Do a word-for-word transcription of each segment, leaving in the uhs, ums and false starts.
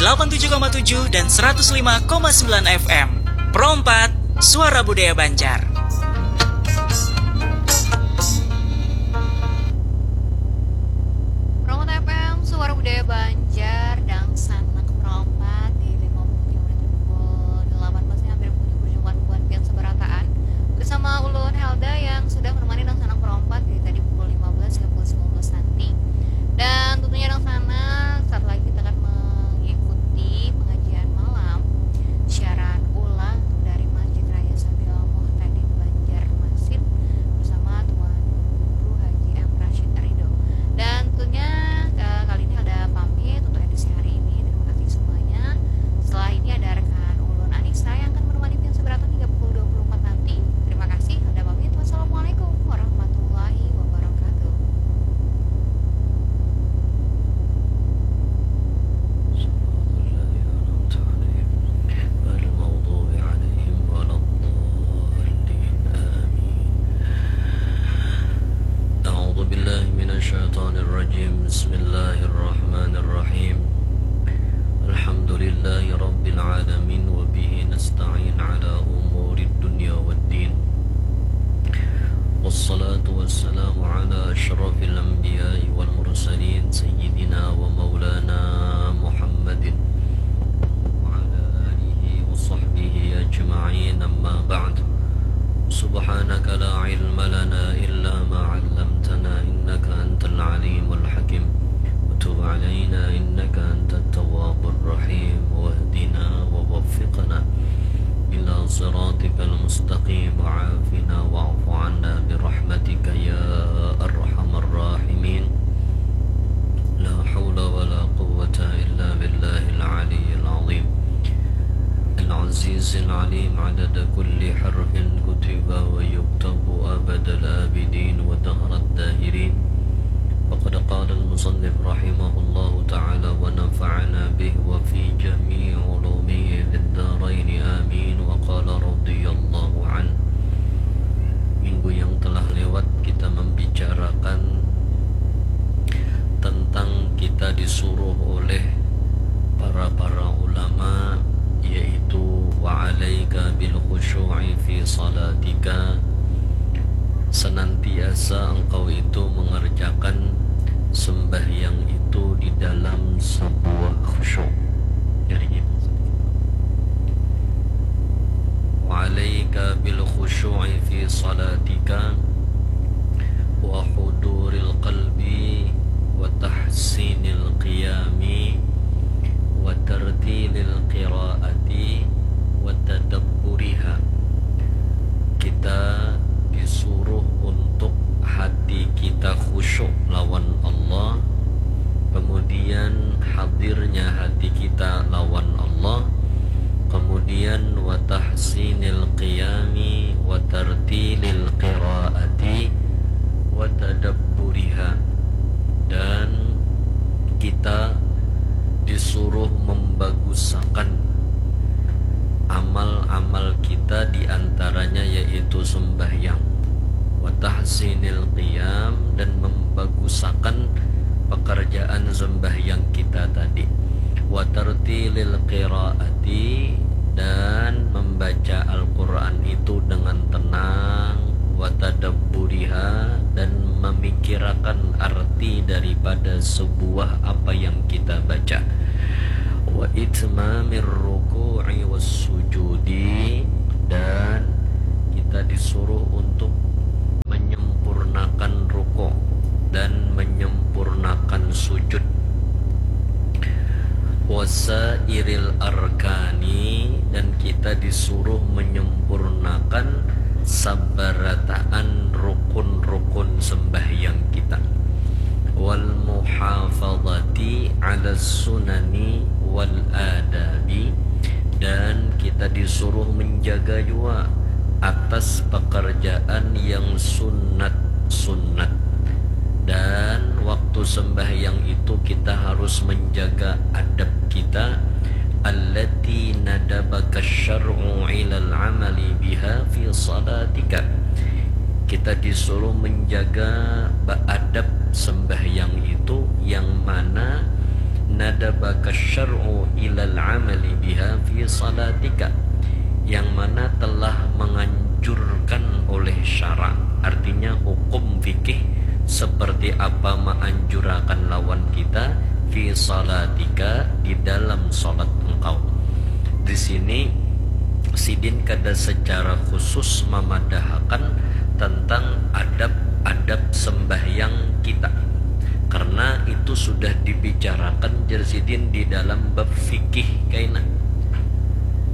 delapan tujuh koma tujuh dan seratus lima koma sembilan F M. Pro empat, Suara Budaya Banjar. Pro empat F M, Suara Budaya Banjar, dangsanak Pro empat di lima puluh tiga menit pukul delapan belas, hampir bunyi berjumpa buat pian seberataan. Bersama ulun Helda yang sudah menemani dangsanak Pro empat dari tadi pukul lima belas hingga pukul sembilan belas nanti. Dan tentunya dangsanak, saat lagi kita akan mengikuti pengajian malam siaran ulang dari Masjid Raya Sabil Muhtadin Banjarmasin bersama Tuan Guru Haji M Rashid Ridho. Dan tentunya, eh, kali ini Helda pamit untuk edisi hari ini. Terima kasih semuanya. Setelah ini ada rekan ulun Anissa yang akan menemani pian seberataan hingga pukul dua puluh empat nanti. Terima kasih, Helda pamit. Wassalamualaikum warahmatullahi wabarakatuh. صراط الذين أنعمت عليهم غير المغضوب عليهم ولا الضالين. آمين. أعوذ بالله من الشيطان الرجيم. بسم الله الرحمن الرحيم. الحمد لله رب العالمين، وبه نستعين على أمور الدنيا والدين. والصلاة والسلام على أشرف الأنبياء والمرسلين، سيدنا ومولانا محمد وعلى آله وصحبه أجمعين. أما بعد، سبحانك لا علم لنا إلا ما علمتنا، إنك أنت العليم الحكيم. وتب علينا إنك أنت التواب الرحيم، واهدنا ووفقنا إلى صراطك المستقيم، وعافنا واعف عنا برحمتك يا أرحم الراحمين. لا حول ولا قوة إلا بالله العلي العظيم العزيز العليم، عدد كل حرف كتب ويكتب أبد الآبدين ودهر الداهرين. فقد قال المصنف رحمه الله تعالى ونفعنا به وفي جميع علومه في الدارين آمين. وقال رضي الله عنه. Minggu yang telah lewat kita membicarakan tentang kita disuruh oleh para-para ulama, yaitu wa alaika bil khusyu'i fi salatika, senantiasa engkau itu mengerjakan sembahyang itu di dalam sebuah khusyuk. Jadi gitu. Wa alaika bil khusyu'i fi salatika wa huduril qalbi wa tahsinil qiyami wa tartilil qiraati wa tadabburiha. Kita disuruh untuk hati kita khusyuk lawan Allah, kemudian hadirnya hati kita lawan Allah, kemudian wa tahsinil qiyami wa tartilil qiraati wa tadabburiha, dan kita disuruh membagusakan amal-amal kita, di antaranya yaitu sembahyang, wa tahsinil qiyam, dan membagusakan pekerjaan sembahyang kita tadi, wa tartilil qiraati, dan membaca Al-Quran itu dengan tenang, wa tadabburiha, dan memikirakan arti daripada sebuah apa yang kita baca, wa itmamir ruku'i was sujudi, dan kita disuruh untuk menyempurnakan ruku dan menyempurnakan sujud, wasairil arkani, dan kita disuruh menyempurnakan sabarataan rukun-rukun sembahyang kita, wal muhafadati ala sunani wal adabi, dan kita disuruh menjaga jua atas pekerjaan yang sunat-sunat. Dan waktu sembahyang itu kita harus menjaga adab kita, allati nadabaka syar'u ilal amali biha fi salatika. Kita disuruh menjaga beadab sembahyang itu, yang mana nadabaka syar'u ilal amali biha fi salatika, yang mana telah menganjurkan oleh syara, artinya hukum fikih seperti apa menganjurakan lawan kita fi salatika, di dalam salat engkau. Di sini sidin kada secara khusus mamadahakan tentang adab-adab sembahyang kita, karena itu sudah dibicarakan jar sidin di dalam bab fikih kaina.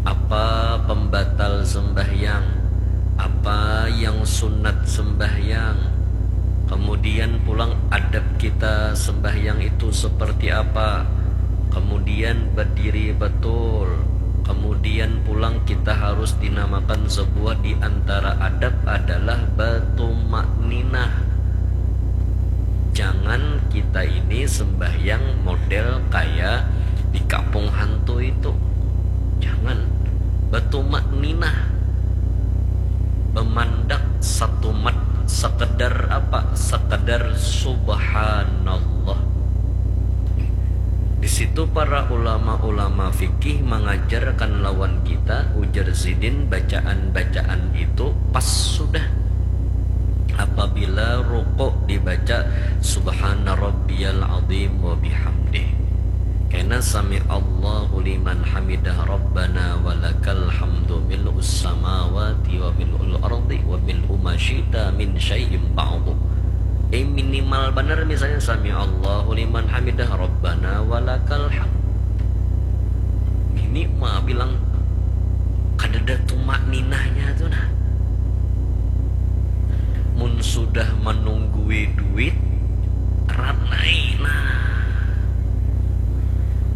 Apa pembatal sembahyang, apa yang sunat sembahyang, kemudian pulang adab kita sembahyang itu seperti apa, kemudian berdiri betul, kemudian pulang kita harus dinamakan sebuah di antara adab adalah batumakninah. Jangan kita ini sembahyang model kayak di kampung hantu itu. Jangan. Batumakninah. Bemandak satumat, sekedar apa? Sekedar subhanallah. Di situ para ulama-ulama fikih mengajarkan lawan kita, ujar sidin, bacaan-bacaan itu pas sudah. Apabila rukuk dibaca subhana rabbiyal azim wa bihamdih. Kena sami Allahu liman hamidah rabbana wa lakal hamdu mil'us samawati wa mil'ul ardi wa mil'u ma syi'ta min syai'in ba'du. Eh, minimal banar misalnya sami Allahu liman hamidah rabbana wa lakal hamd. Minimal bilang kadada tumakninahnya tu nah. Mun sudah menunggui duit, ranai nah.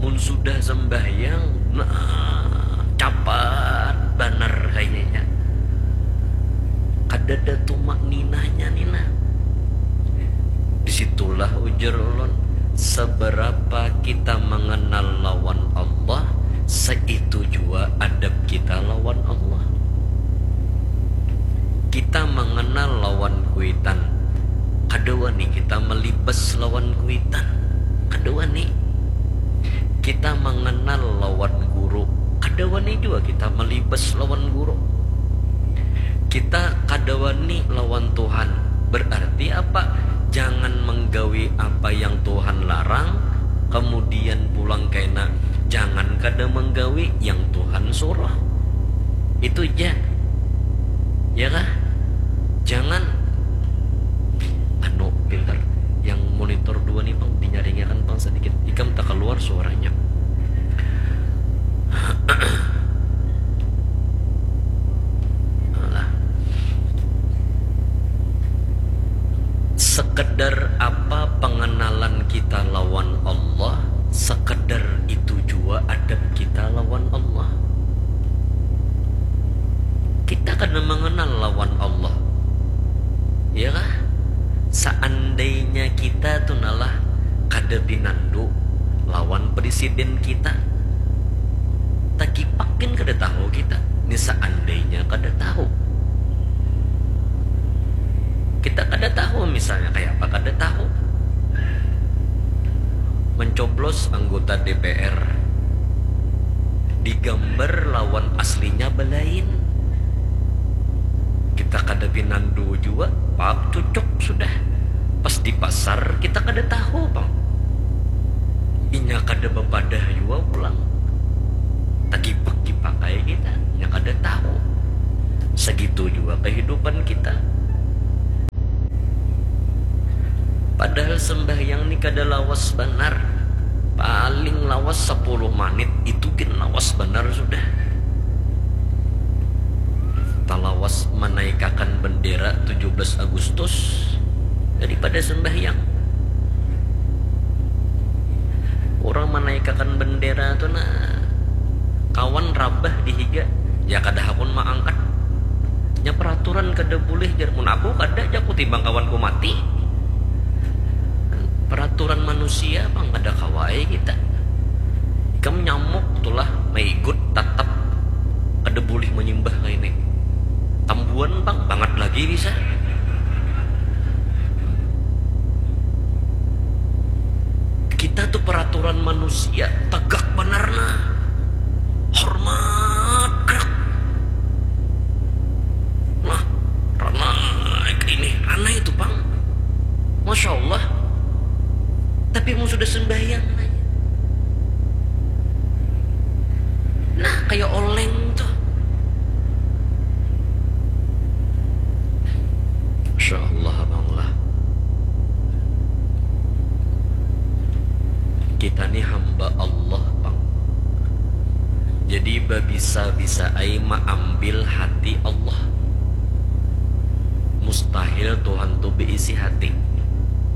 Mun sudah sembahyang, nah, capat banar kayaknya. Kadada tumakninahnya ni nah. Disitulah ujar ulun, seberapa kita mengenal lawan Allah, seitu jua adab kita lawan Allah. Kita mengenal lawan kuitan, kada wani kita melibas lawan kuitan, kada wani. Kita mengenal lawan guru, kada wani jua kita melibas lawan guru. Kita kada wani lawan Tuhan, berarti apa? Jangan menggawi apa yang Tuhan larang, kemudian pulang kena jangan kada menggawi yang Tuhan suruh. Itu ja. Ya kah? Jangan. Anu, pintar. Yang monitor dua nih, Bang, dinyaringakan, Bang, sedikit. Ikam tak keluar suaranya. Alah. Sekedar apa pengenalan kita lawan Allah, sekedar itu jua adab kita lawan Allah. Kita kada mengenal lawan Allah. Ya kah? Seandainya kita tu nalah kada pinandu lawan presiden kita, takipakin kada tahu kita. Ini seandainya kada tahu. Kita kada tahu misalnya kayak apa, kada tahu. Mencoblos anggota D P R digambar lawan aslinya belain. Kita kada pinandu jua, pap cucuk sudah. Pas di pasar kita kada tahu pang. Inya kada bapadah jua pulang. Tagipak-gipak ai kita, inya kada tahu. Segitu jua kehidupan kita. Padahal sembahyang ni kada lawas banar. Paling lawas sepuluh manit, itu gin lawas banar sudah. Talawas manaikakan bendera tujuh belas Agustus daripada sembahyang. Orang manaikakan bendera tu nah, kawan rabah di higa, ya kada hakun maangkat. Nya peraturan kada bulih jar, mun aku kada jaku timbang kawanku mati. Peraturan manusia pang kada kawa ai kita. Ikam nyamuk tulah maigut tatap kada bulih manyimbah kaini. Tambuan pang bangat lagi bisa. Kita tu peraturan manusia tegak banar nah, hormat krak. Nah, ranai ini, ranai itu pang. Masya Allah. Tapi mun sudah sembahyang nanya. Nah, kayak oleng tuh. Masya Allah, Abang lah. Kita ni hamba Allah pang. Jadi babisa-bisa ai maambil hati Allah. Mustahil Tuhan tu beisi hati.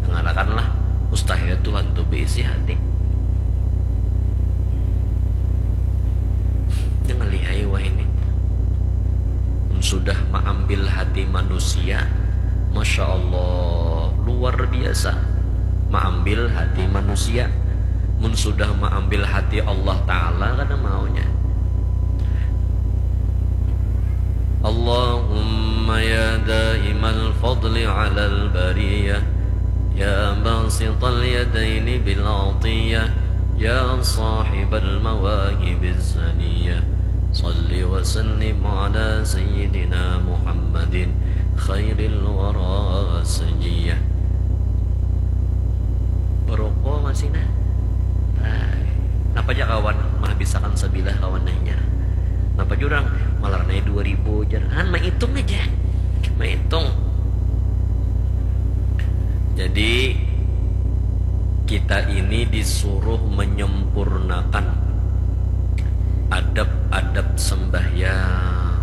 Dangarakanlah, mustahil Tuhan tu beisi hati. Jangan lihai wah ini. Mun sudah maambil hati manusia, Masya Allah, luar biasa. Maambil hati manusia. Mun sudah maambil hati Allah Ta'ala, kada maunya. Allahumma ya daimal fadli alal bariyah, ya basital yadaini bil atiyah, ya sahibal mawahibiz zaniyah, salli wa sallim ala sayyidina Muhammadin khairil wara saniyah. Baroko masih nah. Nah, napa ja kawan, mahabisakan sabilah kawan nanya. Napa jurang malar nai dua ribu jar. Han, maitung aja. Maitung. Jadi kita ini disuruh menyempurnakan adab-adab sembahyang.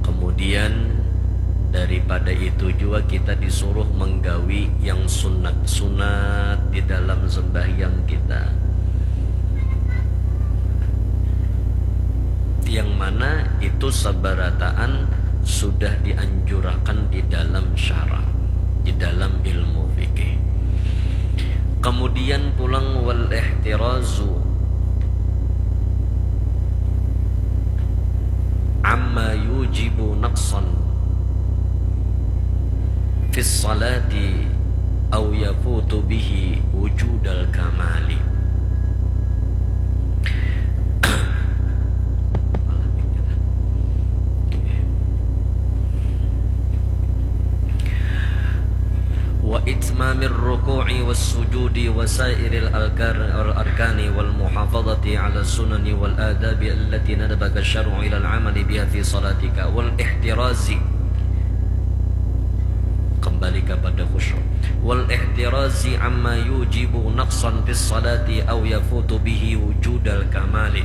Kemudian daripada itu jua kita disuruh menggawi yang sunat-sunat di dalam sembahyang kita. Yang mana itu sabarataan sudah dianjurakan di dalam syara, di dalam ilmu fikih. Kemudian pulang wal ihtirazu amma yujibu naqsan fis salati au yafutu bihi wujudal kamali. Wa itmamir ruku'i was sujudi wa sairil alkar-, al-arkani wal muhafadhati ala sunani wal adabi allati nadabaka syar'u ilal amali biha fi salatika wal ihtirazi. Kembali kepada khusyuk. Wal ihtirazi amma yujibu naqsan fis salati au yafutu bihi wujudal kamali.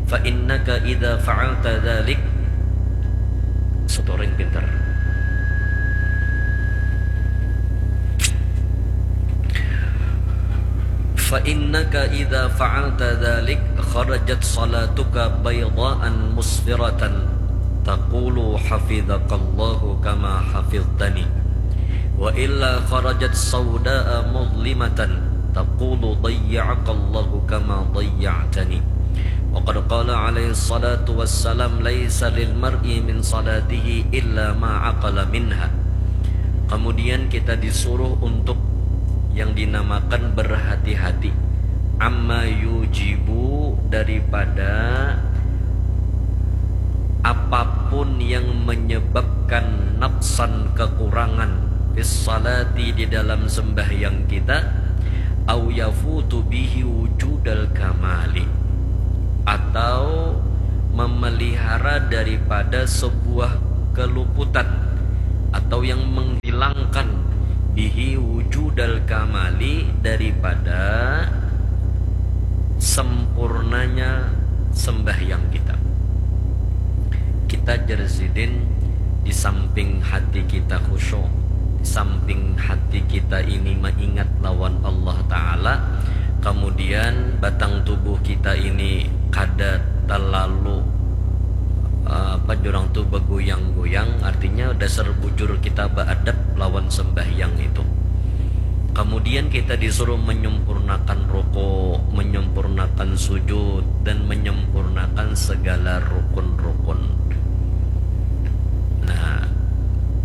Fa innaka idza fa'alta dzalik, setoring pintar. Fa innaka idza fa'alta dzalik kharajat salatuka baydaan musfiratan taqulu hafidzakallahu kama hafidhtani. Wa illa kharajat saudaa mudlimatan taqulu dayya'akallahu kama dayya'tani. Wa qad qala alaihi salatu wassalam, laisa lil mar'i min salatihi illa ma aqala minha. Kemudian kita disuruh untuk yang dinamakan berhati-hati, amma yujibu, daripada apapun yang menyebabkan naqsan, kekurangan, fis salati, di dalam sembahyang kita, au yafutu bihi wujudal kamali, atau memelihara daripada sebuah keluputan atau yang menghilangkan bihi wujudal kamali, daripada sempurnanya sembahyang kita. Kita, jar sidin, di samping hati kita khusyuk, di samping hati kita ini maingat lawan Allah Ta'ala, kemudian batang tubuh kita ini kada terlalu, eh, apa jurang tu, begoyang-goyang, artinya dasar bujur kita beadab lawan sembahyang itu. Kemudian kita disuruh menyempurnakan ruku, menyempurnakan sujud, dan menyempurnakan segala rukun-rukun. Nah,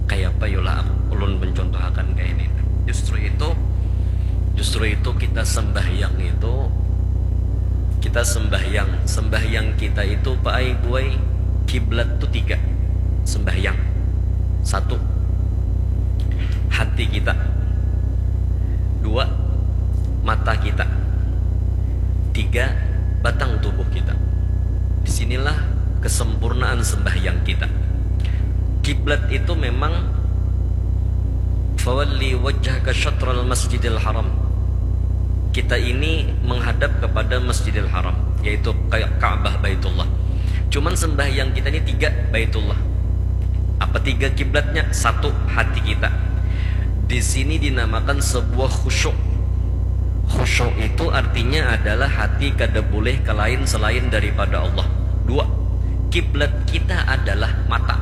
kaya apa yulah aku, ulun mencontohakan kayak ini. Justru itu, Justru itu kita sembahyang itu, kita sembahyang, sembahyang kita itu, Pak ai, Bu ai, kiblat tuh tiga. Sembahyang. Satu, hati kita. Dua, mata kita. Tiga, batang tubuh kita. Disinilah kesempurnaan sembahyang kita. Kiblat itu memang, "Fawalli wajhaka syatral masjidil haram." Kita ini menghadap kepada Masjidil Haram, yaitu Ka-, Ka'bah, Baitullah. Cuman sembahyang kita ini tiga, Baitullah. Apa tiga kiblatnya? Satu, hati kita. Di sini dinamakan sebuah khusyuk. Khusyuk itu artinya adalah hati kada boleh ke lain selain daripada Allah. Dua, kiblat kita adalah mata.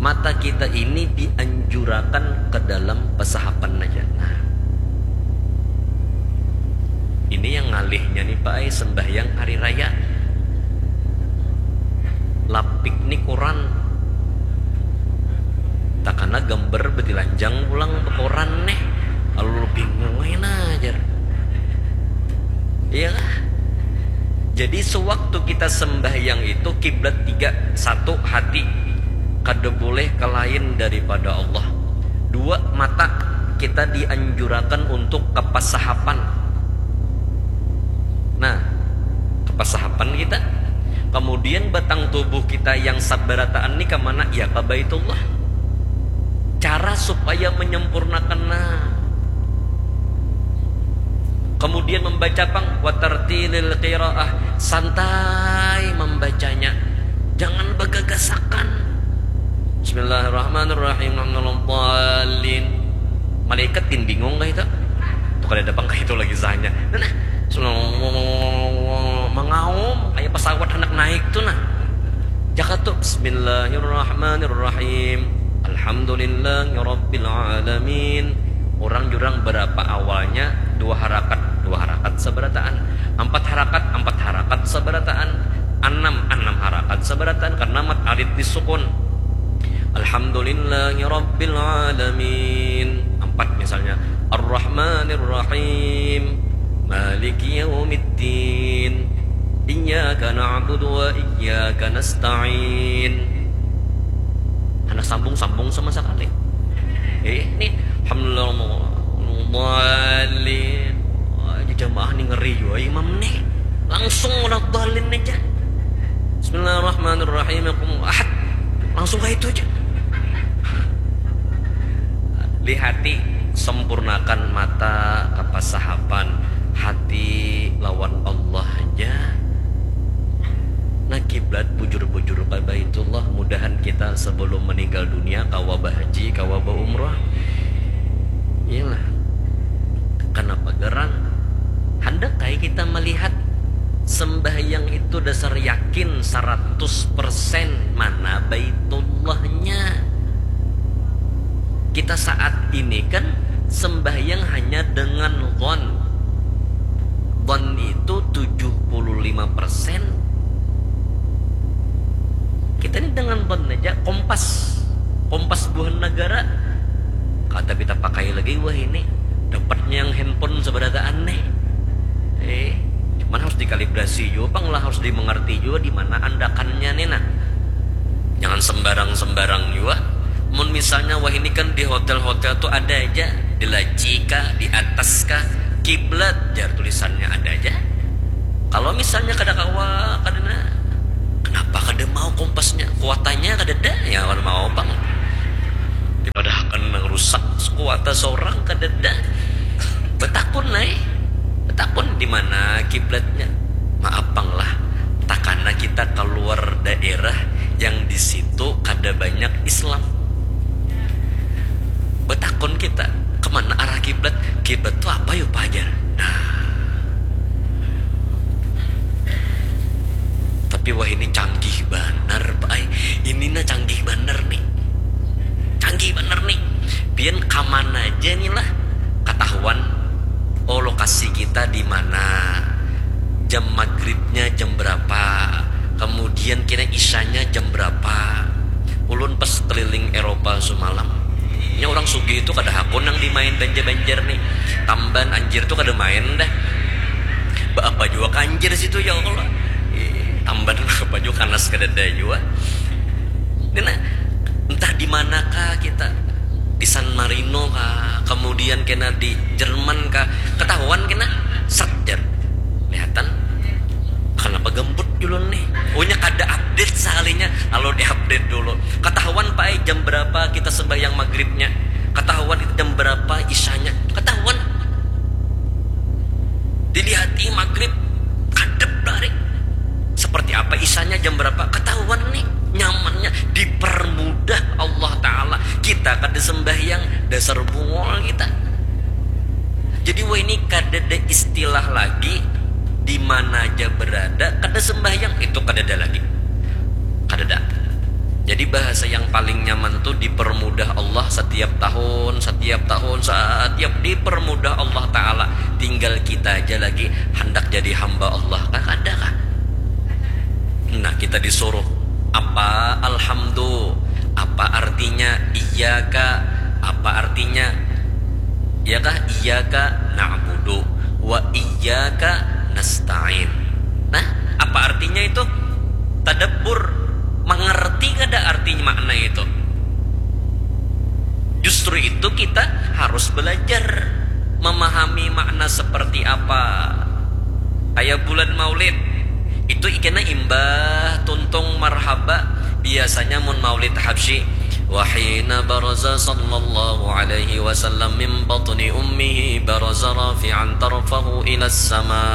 Mata kita ini dianjurakan ke dalam pasahapan aja. Nah, ini yang ngalihnya nih, Pak ai, sembahyang hari raya. Lapik nih koran. Takana gambar betilanjang pulang bekoran nih. Lalu bingung aja nah, jar. Iya kah? Jadi sewaktu kita sembahyang itu kiblat tiga. Satu, hati. Kada boleh ke lain daripada Allah. Dua, mata. Kita dianjurakan untuk ke pasahapan. Nah, ke pasahapan kita. Kemudian batang tubuh kita yang sabarataan ni ke mana? Ya ke Baitullah. Cara supaya menyempurnakan, nah. Kemudian membaca pang, watartilil qiraah, santai membacanya. Jangan bagagasakan. Bismillahirrahmanirrahim. Alhamdulillahirrahmanirrahim. Malaikat gin bingung kah itu? Tuh kada ada pang kah itu lagi sahnya. Nah, nah. Mengaum kayak pesawat hendak naik tuh nah. Jaka tuh, Bismillahirrahmanirrahim. Alhamdulillahirabbil alamin. Orang jurang berapa awalnya? Dua harakat, dua harakat sabarataan. Empat harakat, empat harakat sabarataan. Enam, enam harakat sabarataan karena mat alit disukun. Alhamdulillahirabbil alamin. Empat misalnya. Arrahmanirrahim. Maliki yaumiddin. Iyyaka na'budu wa iyyaka nasta'in. Anak sambung-sambung sama sekali. Eh, ini alhamdulillah. Wah, jamaah nih ngeri jua imam nih. Langsung udah dalin aja. Bismillahirrahmanirrahim. Aku ahad. Langsung kayak itu aja. Lihati, sempurnakan mata kapasahapan hati lawan Allah aja. Nah, kiblat bujur-bujur ka Baitullah. Mudahan kita sebelum meninggal dunia kawa bahaji, kawa baumrah. Iyalah. Kenapa gerang? Hendak kayak kita melihat sembahyang itu dasar yakin seratus persen mana Baitullahnya. Kita saat ini kan sembahyang hanya dengan zon. Zon itu tujuh puluh lima persen. Kita ini dengan zon aja, kompas. Kompas buhan negara. Kada kita pakai lagi wah ini. Dapatnya yang handphone seberataan nih. Eh, cuman harus dikalibrasi juga pang lah, harus dimengerti juga di mana andakannya nih nah. Jangan sembarang-sembarang juga. Mun misalnya wah ini kan di hotel-hotel tuh ada aja, di laci kah, di atas kah, kiblat jar tulisannya ada aja. Kalau misalnya kada kawa, kada na, kenapa kada mau kompasnya? Kuatannya kada ada, ya kada mau pang. Dipadahakan nang rusak, kuata seorang kada ada. Betakun ai. Betakun di mana kiblatnya. Maaf pang lah, takana kita keluar daerah yang di situ kada banyak Islam. Betakun kita, kemana arah kiblat? Kiblat tuh apa yuk pajar? Nah. Tapi wah ini canggih banar, Pak ai. Ini nah canggih banar nih. Canggih banar nih. Pian kamana aja nih lah. Ketahuan, oh, lokasi kita di mana. Jam maghribnya jam berapa. Kemudian kira isanya jam berapa. Ulun pas keliling Eropa semalam. Nya orang sugih itu kada hakun nang dimain banja banjar nih. Tamban anjir tuh kada main dah. Baapa jua kanjir situ ya Allah. Ih, tamban baapa jua kanas kadada jua. Nina, entah di manakah kita, di San Marino kah, kemudian kena di Jerman kah, ketahuan kena, set jar, lihatan. Kenapa gembut dulu nih? Ohnya kada update sekalinya, lalu di update dulu. Ketahuan pak ai jam berapa kita sembahyang maghribnya, ketahuan kita jam berapa isyanya, ketahuan. Dilihati maghrib kadep dari seperti apa isyanya, jam berapa ketahuan nih. Nyamannya dipermudah Allah Ta'ala. Kita kada sembahyang, dasar bungol kita. Jadi wah ini kada ada istilah lagi di mana aja berada kada sembahyang, itu kada ada lagi. Kada ada. Jadi bahasa yang paling nyaman tuh dipermudah Allah setiap tahun, setiap tahun, setiap dipermudah Allah Ta'ala. Tinggal kita aja lagi hendak jadi hamba Allah. Kan ada kah? Nah, kita disuruh apa alhamdu, apa artinya iyaka, apa artinya, ya kah, iyaka na'budu wa iyaka nasta'in. Nah, apa artinya itu? Tadabbur, mengerti kada artinya makna itu? Justru itu kita harus belajar memahami makna seperti apa. Kayak bulan Maulid, itu ikena imbah tuntung marhaba. Biasanya mun Maulid Habsyi, wahina baraza sallallahu alaihi wasallam min batni ummihi baraza rafi'an tarfahu ila sama.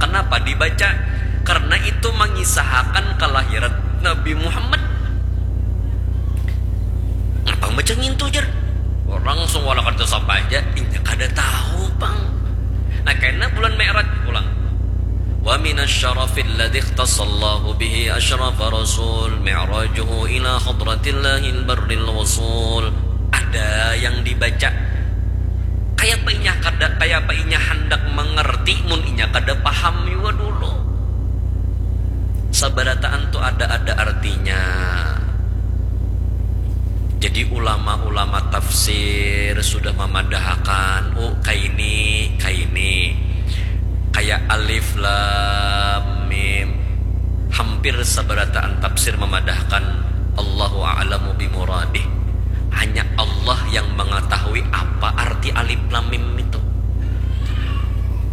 Kenapa dibaca? Karena itu mengisahakan kelahiran Nabi Muhammad. Ngapa baca ngintu jar? Orang langsung wala kada sapa aja, inya kada tahu pang. Nah, kena bulan Mi'raj pulang. Wa minasyarafil ladzi ikhtassallahu bihi asyrafa rasul mi'rajuhu ila hadratillahil barril wasul. Ada yang dibaca. Kayapa inya kada, kayapa inya handak mengerti mun inya kada paham jua dulu. Sabarataan tu ada-ada artinya. Jadi ulama-ulama tafsir sudah mamadahakan, oh kaini, kaini. Kaya alif lam mim. Hampir sabarataan tafsir mamadahakan Allahu a'lamu bimuradih. Hanya Allah yang mengetahui apa arti alif lam mim itu.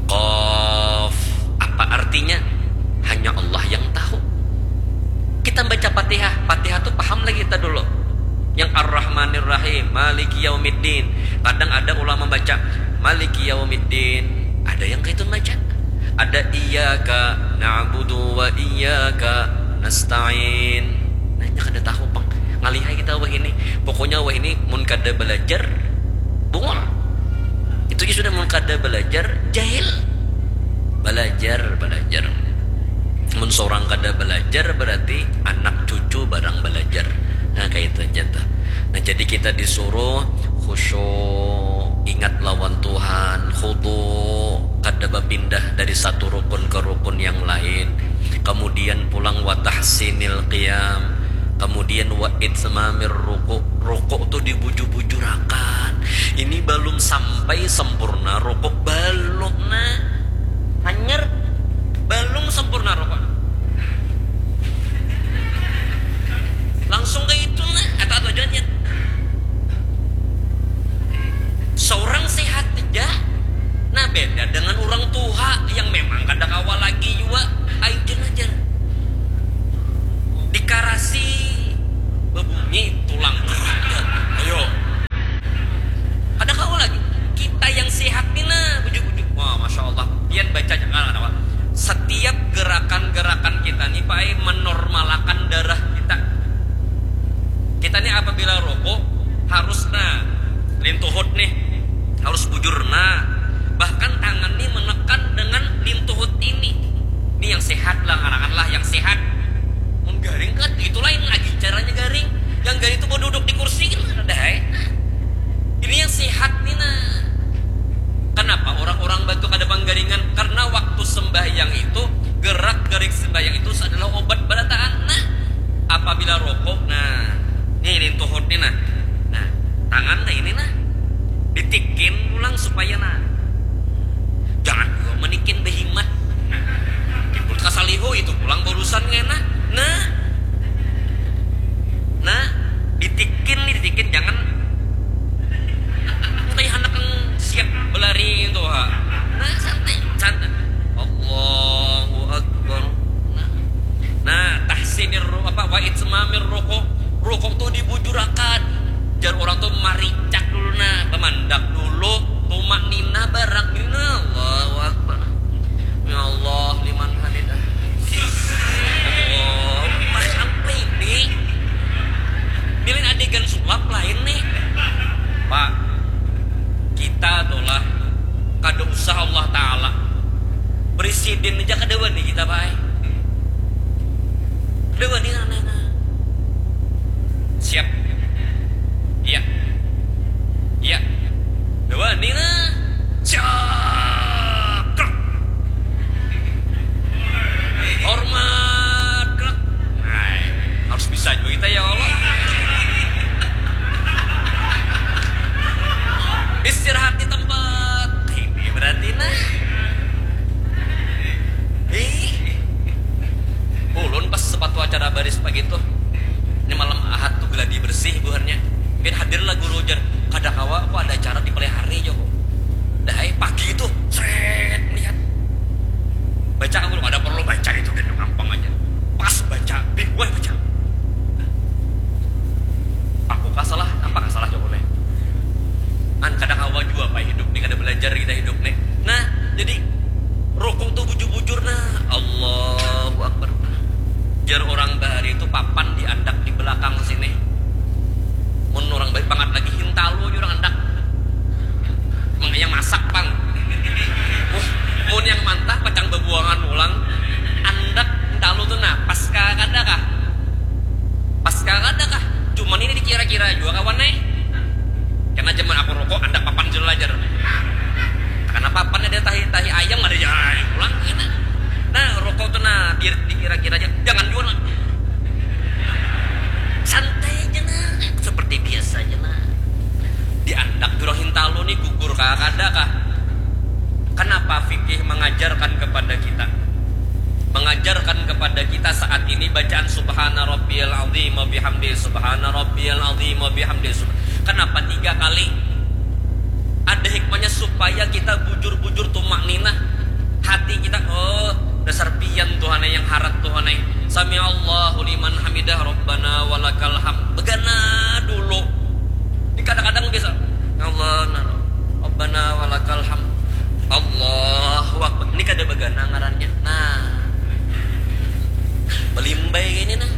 Qaf, apa artinya? Hanya Allah yang tahu. Kita baca Fatihah, Fatihah tu paham lagi kita dulu. Yang Ar-Rahmanir Rahim, Maliki Yaumiddin. Kadang ada ulama baca Maliki Yaumiddin, ada yang kaitu baca. Ada iyyaka na'budu wa iyyaka nasta'in. Nah, nya kada tahu pang. Ngalihai kita wahini. Pokoknya wahini mun kada belajar, bungul. Itu ja sudah mun kada belajar, jahil. Belajar, belajar. Mun seorang kada belajar, berarti anak cucu barang belajar. Nah, kayak itu aja tuh. Nah, jadi kita disuruh khusyuk, ingat lawan Tuhan, khudu, kada bapindah dari satu rukun ke rukun yang lain. Kemudian pulang wa tahsinil qiyam, kemudian wa itmamir ruku. Ruku tu dibujur-bujurakan. Ini belum sampai sempurna ruku, belum nah. Hanyar belum sempurna ruku. Langsung ke itu nah, atau atau jangan ya. Seorang sehat aja. Nah, beda dengan orang tua yang memang kada kawa lagi jua. Ayo aja. Dikarasi bebunyi tulang. Ayo. Kada kawa lagi. Kita yang sehat ni nah, bujuk-bujuk. Wah, masya Allah. Pian baca jangan kenapa. Setiap gerakan-gerakan kita ni, Pak, menormalakan darah kita. Kita ni apabila rokok harus nah lintuhut nih, harus bujur nah. Bahkan tangan nih menekan dengan lintuhut ini. Ini yang sehat lah, ngarangan lah yang sehat. Mun garing kan itu lain lagi caranya garing. Yang garing itu mau duduk di kursi kan ada hai. Ini yang sehat nih nah. Kenapa orang-orang bantu kada panggaringan? Karena waktu sembahyang itu, gerak-gerik sembahyang itu adalah obat barataan. Nah, apabila rokok, nah, nih lintuhut nih nah. Nah, tangan nah Oh, itu pulang barusan ngena. Nah. Nah, ditikin nih, ditikin, jangan. Entah handak siap belari itu ha. Nah, santai, santai. Allahu Akbar. Nah. Nah, tahsinir ru-, apa, wa itmamir ruku. Ruku tuh dibujurakan. Jar orang tuh maricak dulu nah, bamandak dulu, tumak nina barak nina. Allahu Akbar. Ya Allah, liman hamidah. Allah, Mas, apa ini? Nilai adegan sulap lain nih. Pak, kita tuh lah kada usah Allah Ta'ala. Presiden aja kada wani kita, Pak. Kada wani, nah, nah, nah. Siap. Iya. Iya. Kada wani, nah. Siap. Hormat. Hai, harus bisa juga kita, ya Allah. Istirahat di tempat. Ini berarti, nah. Ih. Ulun pas sepatu acara baris pagi tuh. Ini malam Ahad tuh geladi bersih buhannya. Mungkin hadir lah guru, jar. Kada kawa, aku ada acara di Pelihari, jawab. Dah, eh, pagi itu, seret, lihat. Baca aku, ada perlu baca itu, dan gampang aja. Pas baca, bingung baca. Aku kasalah, apa kasalah, jawab, eh. An, kada kawa jua, Pak, hidup nih, kada belajar kita hidup nih. Nah, jadi, rukuk tuh bujur-bujur, nah. Allahu Akbar. Jar orang bahari itu papan diandak di belakang sini. Mun orang baik banget lagi, hintalu aja orang andak. Mang yang masak pang. Mun, mun yang mantah pacang babuangan pulang, andak hintalu tuh nah, pas ka kada kah? Pas ka kada kah? Cuman ini dikira-kira jua kawan eh. Kena zaman aku rokok, andak papan jelajar. Karena papan ada tahi, tahi ayam ada ya pulang kena. Nah, rokok tuh nah, di-, dikira-kira aja. Jangan jua nah. Santai aja nah, seperti biasa aja nah. Diandak jurang hintalu nih gugur kah kada kah? Kenapa fikih mengajarkan kepada kita? Mengajarkan kepada kita saat ini bacaan subhana rabbiyal azim wa bihamdi, subhana rabbiyal azim wa bihamdi. Sub-, kenapa tiga kali? Ada hikmahnya supaya kita bujur-bujur tumak ninah. Hati kita, oh, dasar pian Tuhan yang harat Tuhan. Sami Allahu liman hamidah, Rabbana walakal hamd. Begana dulu. Ini kadang-kadang biasa, Allah, nah, Rabbana walakal hamd. Allahu Akbar. Ini kada begana ngarannya. Nah. Belimbai ini nah.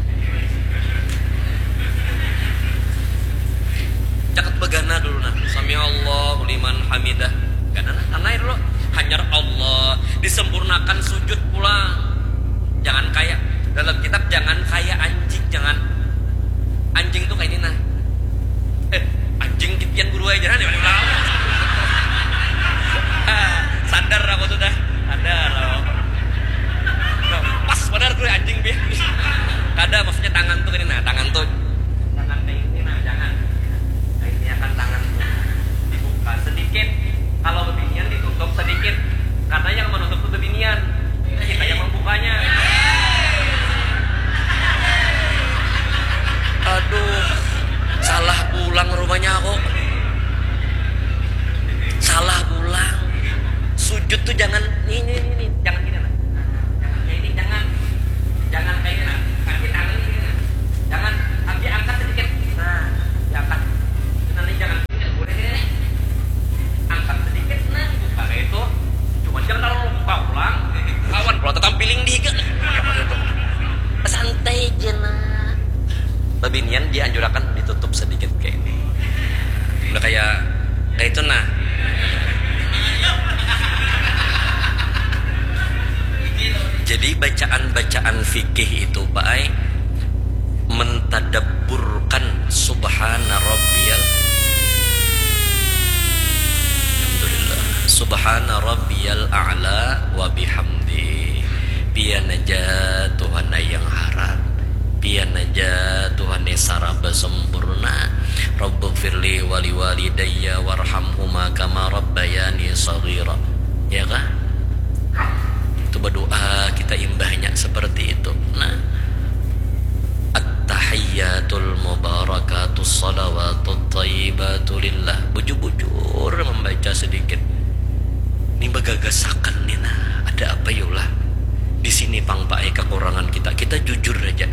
Cakat begana dulu nah. Sami Allahu liman hamidah. Gana nah, tanai dulu. Hanyar Allah. Disempurnakan sujud pulang. Jangan kayak dalam kitab, jangan kayak anjing, jangan. Anjing tuh kayak ini nah. Eh, anjing titian guru aja nah. Sadar aku tuh dah. Sadar aku. Nah, pas benar guru anjing bi. Kada, maksudnya tangan tuh ini nah, tangan tuh. Tangan kayak ini nah, jangan. Nah, ini akan tangan tuh dibuka sedikit. Kalau bebinian ditutup sedikit. Karena yang menutup tuh bebinian. Kita yang membukanya. Aduh, salah pulang rumahnya aku. Salah pulang. Sujud tuh jangan ini, ini, ini. Jangan gini nah. Jangan kayak ini, jangan. Jangan kayak ini nah. Kaki tangan ini nah. Jangan, kaki angkat sedikit. Nah, diangkat. Nanti jangan boleh ini. Angkat sedikit nah, buka kayak itu. Cuma jangan terlalu buka pulang. Kawan pulang tetap piling di higa. Santai aja nah. Babinian dianjurakan ditutup sedikit kayak ini. Udah kayak kayak itu nah. Jadi bacaan-bacaan fikih itu, Pak ai, mentadabburkan subhana rabbiyal, alhamdulillah, subhana rabbiyal a'la wa bihamdi. Pian aja Tuhan yang harat, pian aja Tuhan yang saraba sempurna. Rabbighfirli wali walidayya warhamhuma kama rabbayani saghira. Ya kah? Itu berdoa kita imbahnya seperti Jujur aja.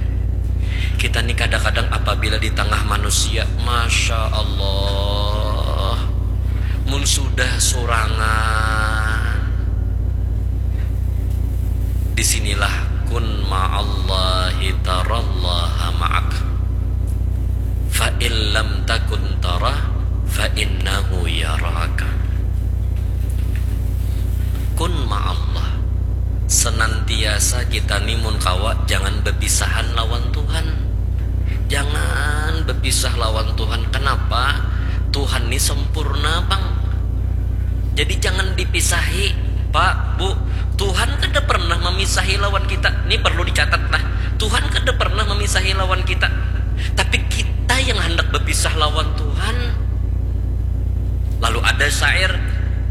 Kita nih kadang-kadang apabila di tengah manusia, Masya Allah, mun sudah sorangan, di sinilah kun ma'allahi tarallaha ma'ak. Fa in lam takun tarah, fa innahu yaraka. Kun ma'allah. Senantiasa kita ni mun kawa jangan bepisahan lawan Tuhan. Jangan bepisah lawan Tuhan. Kenapa? Tuhan ni sempurna, Bang. Jadi jangan dipisahi, Pak, Bu. Tuhan kada pernah memisahi lawan kita. Ini perlu dicatat lah. Tuhan kada pernah memisahi lawan kita. Tapi kita yang hendak berpisah lawan Tuhan. Lalu ada syair,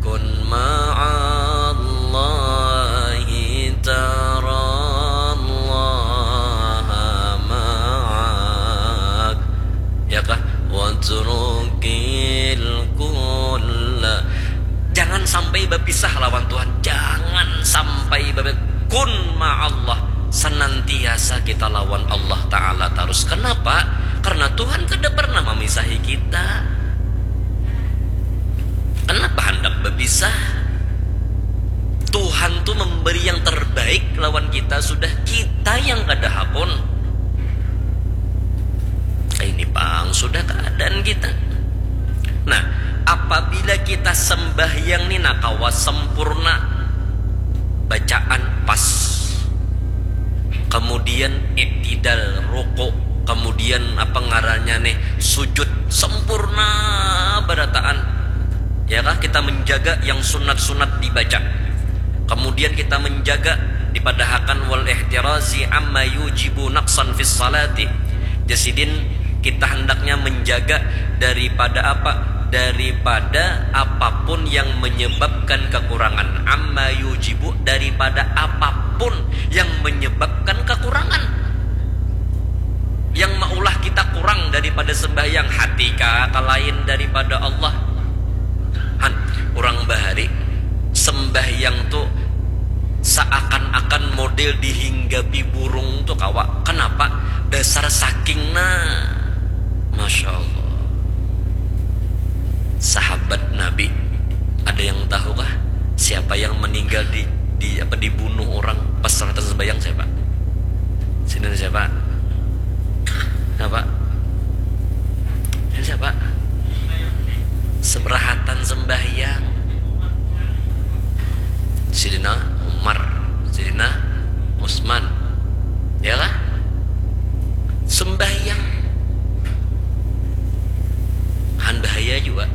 kun ma'allahi tarallaha ma'ak. Ya kah? Watrukil kulla. Jangan sampai berpisah lawan Tuhan. Jangan sampai berpisah. Kun ma'allah. Senantiasa kita lawan Allah Ta'ala terus. Kenapa? Karena Tuhan kada pernah memisahi kita. Kenapa hendak berpisah? Tuhan tuh memberi yang terbaik lawan kita, sudah kita yang kada hakun. Ini pang sudah keadaan kita. Nah, apabila kita sembahyang nih nakawa sempurna, bacaan pas, kemudian iktidal, ruku, kemudian apa ngarannya nih, sujud sempurna berataan. Ya kah, kita menjaga yang sunat-sunat dibaca. Kemudian kita menjaga dipadahakan wal ihtirazi amma yujibu naqsan fis salati. Jasidin kita hendaknya menjaga daripada apa? Daripada apapun yang menyebabkan kekurangan. Amma yujibu, daripada apapun yang menyebabkan kekurangan. Yang maulah kita kurang daripada sembahyang, hati kah, kalain daripada Allah. Han, urang bahari sembahyang tu seakan-akan model dihinggapi burung tu kawa. Kenapa? Dasar saking nah. Masya Allah. Sahabat Nabi, ada yang tahu kah siapa yang meninggal di, di apa, dibunuh orang pas seratan sembahyang, siapa? Sini siapa? Siapa? Ini siapa? Seberahatan sembahyang. Sidina Umar, Sidina Utsman. Ya kah? Sembahyang. Han bahaya juga.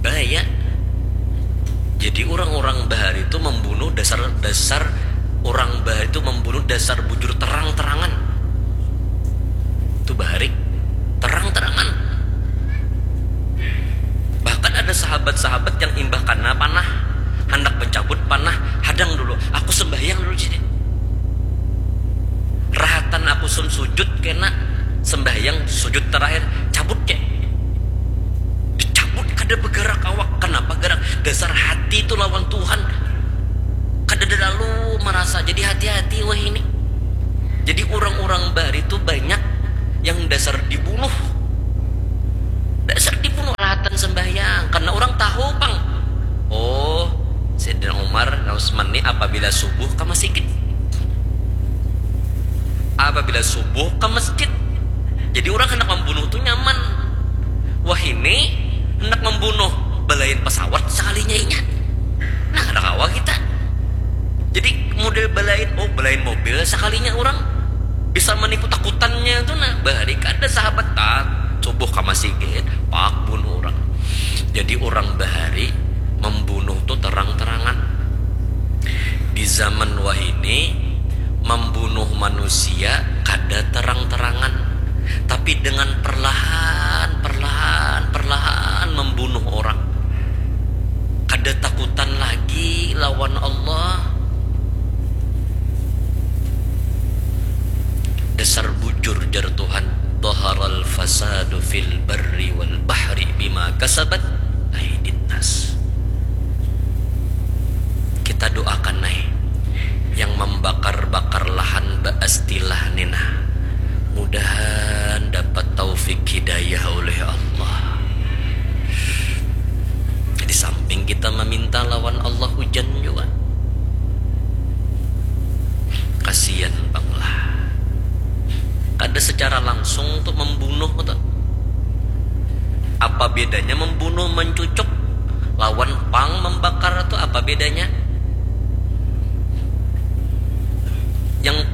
Bahaya. Jadi orang-orang bahari itu membunuh dasar, dasar orang bahari itu membunuh dasar bujur terang-terangan. Itu bahari terang-terangan. Bahkan ada sahabat-sahabat yang imbah kana panah, hendak mencabut panah, hadang dulu, aku sembahyang dulu sini. Rahatan aku sun sujud kena sembahyang sujud terakhir, cabut ke. Dicabut, kada bergerak awak. Kenapa gerak? Dasar hati itu lawan Tuhan. Kada ada lalu merasa. Jadi hati-hati wah ini. Jadi orang-orang bahari itu banyak yang dasar dibunuh. Dasar dibunuh rahatan sembahyang. Karena orang tahu pang. Oh, Sayyidina Umar, Utsman ni apabila subuh ke masjid. Apabila subuh ke masjid. Jadi orang hendak membunuh tu nyaman. Wah ini hendak membunuh belain pesawat sekalinya inya. Nah, kada kawa kita. Jadi model belain, oh belain mobil sekalinya orang bisa menipu takutannya tu nah. Bahari kada sahabat tak subuh ke masjid, pak bunuh orang. Jadi orang bahari membunuh tu terang-terangan. Di zaman wahini membunuh manusia kada terang-terangan, tapi dengan perlahan, perlahan, perlahan membunuh orang. Kada takutan lagi lawan Allah. Dasar bujur jar Tuhan, dhaharal fasadu fil barri wal bahri bima kasabat aidin nas. Kita doakan nai yang membakar-bakar lahan baas secara langsung tuh membunuh tuh. Apa bedanya membunuh, mencucuk, lawan pang membakar tuh apa bedanya? Yang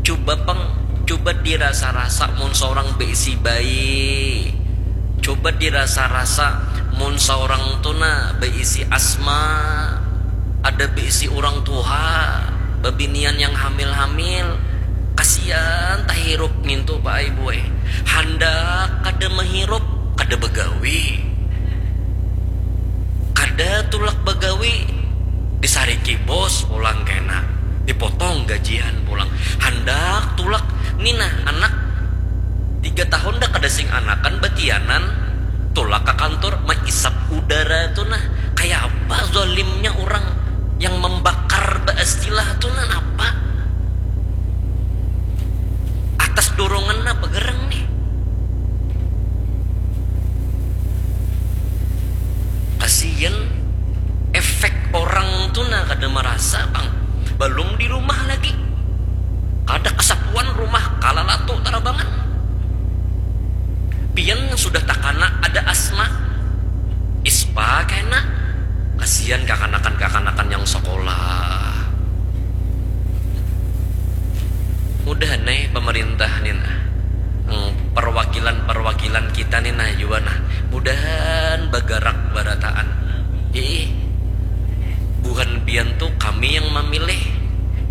coba pang, coba dirasa-rasa mun seorang beisi bayi, coba dirasa-rasa mun seorang tuh nah beisi asma, ada beisi orang tua, bebinian yang hamil-hamil, kasihan tahirup ngintu Pak Ibu eh. Handak kada mahirup, kada bagawi, kada tulak bagawi, disariki bos pulang kena, dipotong gajian pulang, handak tulak nina anak tiga tahun dah kada sing anakan batianan, tulak ke kantor maisap udara tuh nah. Kayak apa zalimnya orang yang membakar baistilah tuh nah, apa atas dorongan apa gerang nih? Kasian efek orang tuh nah kada merasa bang, belum di rumah lagi, kada kesapuan rumah kalalatu tarabangan. Pian yang sudah takana ada asma, ispa kena, kasian kakanakan-kakanakan yang sekolah. Mudahan nih pemerintah nih nah, perwakilan-perwakilan kita nih nah juga nah, mudahan bergerak berataan. Ih, buhan pian tuh kami yang memilih.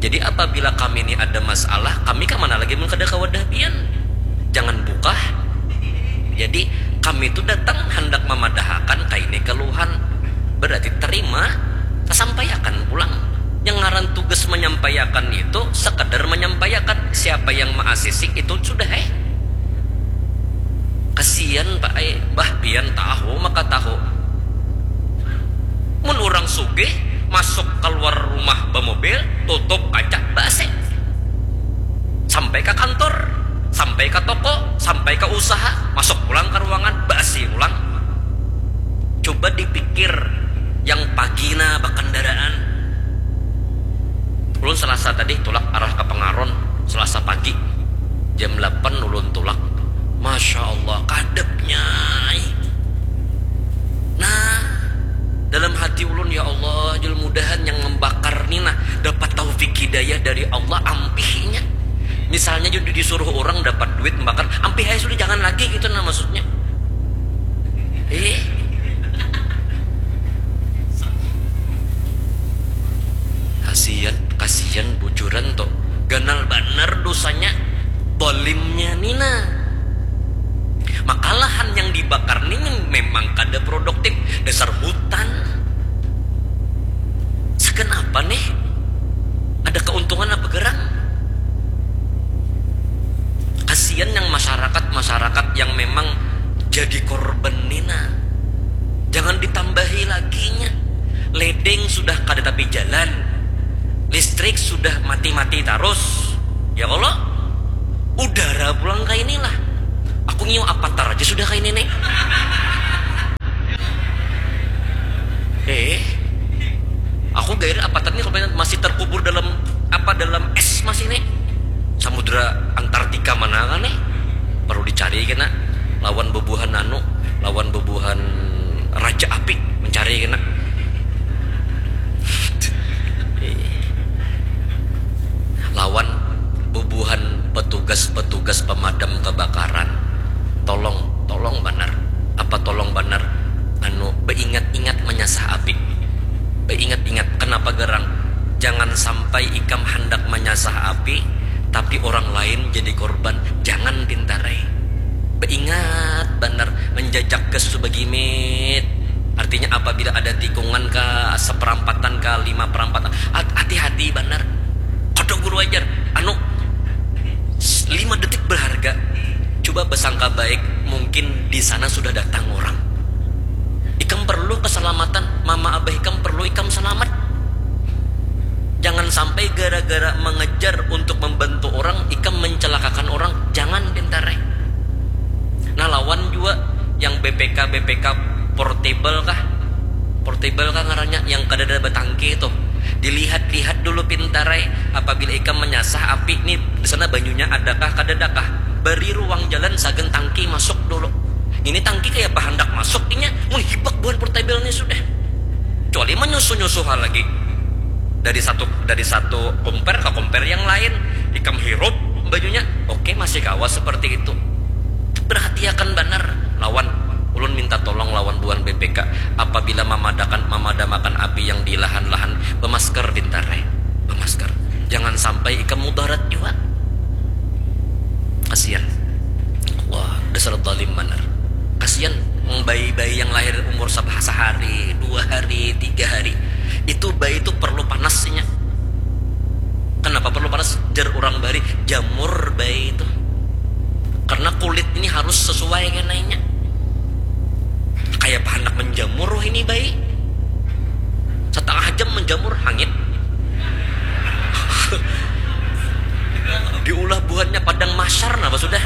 Jadi apabila kami ini ada masalah, kami ke mana lagi mun kada ke wadah pian? Jangan bukah. Jadi kami tuh datang hendak memadahakan kaini keluhan. Berarti terima, kesampaiakan pulang. Yang ngaran tugas menyampaiakan itu sekadar menyampaiakan. Siapa yang maasisi itu sudah eh. Kasian Pak eh, bah pian tahu maka tahu. Mun orang sugih masuk keluar rumah bemobil, tutup kaca basi. Sampai ke kantor, sampai ke toko, sampai ke usaha, masuk pulang ke ruangan basi ulang. Coba dipikir yang pagi nah bakendaraan. Ulun Selasa tadi tulak arah ke Pengaron, Selasa pagi jam delapan ulun tulak. Masya Allah, kadepnya. Nah, dalam hati ulun, ya Allah, jul mudahan yang membakar ni nah dapat taufik hidayah dari Allah, ampihnya. Misalnya jadi disuruh orang dapat duit membakar, ampih aja sudah, jangan lagi gitu nah maksudnya. Eh, kasihan, kasihan bujuran tuh. Ganal banar dosanya, dolimnya ni nah. Maka lahan yang dibakar ni memang kada produktif, dasar hutan. Sekenapa nih? Ada keuntungan apa gerang? Kasihan yang masyarakat-masyarakat yang memang jadi korban ni nah. Jangan ditambahi laginya. Ledeng sudah kada tapi jalan. Listrik sudah mati-mati tarus. Ya Allah. Udara pulang kayak inilah. Aku nyium avatar aja sudah kayak ini nih. Eh, aku gair avatar ini kalau masih terkubur dalam apa, dalam es masih nih. Samudra Antartika mana kan nih? Perlu dicari kena lawan bebuhan anu, lawan bebuhan raja api mencari kena. Lawan bubuhan petugas-petugas pemadam kebakaran. Tolong, tolong banar. Apa tolong banar? Anu, beingat-ingat menyasah api. Beingat-ingat, kenapa gerang? Jangan sampai ikam hendak menyasah api, tapi orang lain jadi korban. Jangan pintarai. Beingat banar, menjajak gas tu bagimit. Artinya apabila ada tikungan ka seperampatan ka lima perampatan, hati-hati banar. Kodok guru ajar, anu, lima detik berharga. Coba bersangka baik, mungkin di sana sudah datang orang. Ikam perlu keselamatan, mama abah ikam perlu ikam selamat. Jangan sampai gara-gara mengejar untuk membantu orang, ikam mencelakakan orang. Jangan pintarai. Nah, lawan juga yang B P K, B P K portable kah? Portable kah ngarannya, yang kada ada batangki itu. Dilihat-lihat dulu pintarai. Apabila ikam menyasah api nih, di sana banyunya adakah, kada adakah? Bari ruang jalan sagan tangki masuk dulu. Ini tangki kaya pahandak masuk inya, mun hibak buhan portable ni sudah. Kecuali manyusu-nyusu ha lagi. Dari satu dari satu komper ka komper yang lain, ikam hirup bajunya, oke masih kawa seperti itu. Perhatiakan banar lawan ulun minta tolong lawan buhan B P K apabila mamadakan mamadamakan api yang di lahan-lahan bemasker pintar eh bemasker jangan sampai ikam mudarat juga. Kasihan. Wah, dasar zalim banar. Kasihan bayi-bayi yang lahir umur sehari, dua hari, tiga hari. Itu bayi itu perlu panasnya. Kenapa perlu panas? Jar orang bari jamur bayi itu. Karena kulit ini harus sesuai kenainya. Kayak panak menjamur ini bayi. Setengah jam menjamur hangit. Diulah buhannya padang mahsyar napa sudah.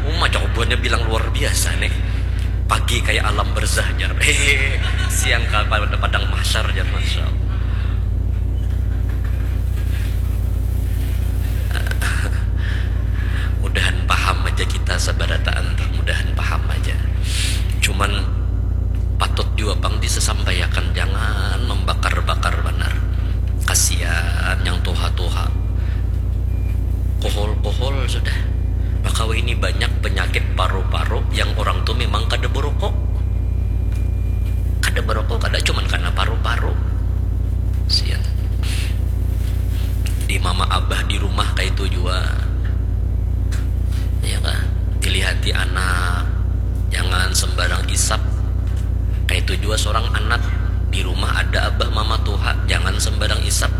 Uma cok buhannya bilang luar biasa nih. Pagi kayak alam berzah jar. Hehehe. Siang kayak pada padang mahsyar jar, masya Allah. Mudahan paham aja kita sabarataan tuh, mudahan paham aja. Cuman patut jua pang disesampaiakan, jangan membakar-bakar banar. Kasian yang tuha-tuha. Kohol-kohol sudah. Maka ini banyak penyakit paru-paru yang orang tuh memang kada berokok. Kada berokok kada cuman karena paru-paru. Sian. Di mama abah di rumah kayak itu jua. Ya kan? Dilihati anak. Jangan sembarang isap. Kayak itu jua seorang anak. Di rumah ada abah mama tuha, jangan sembarang isap.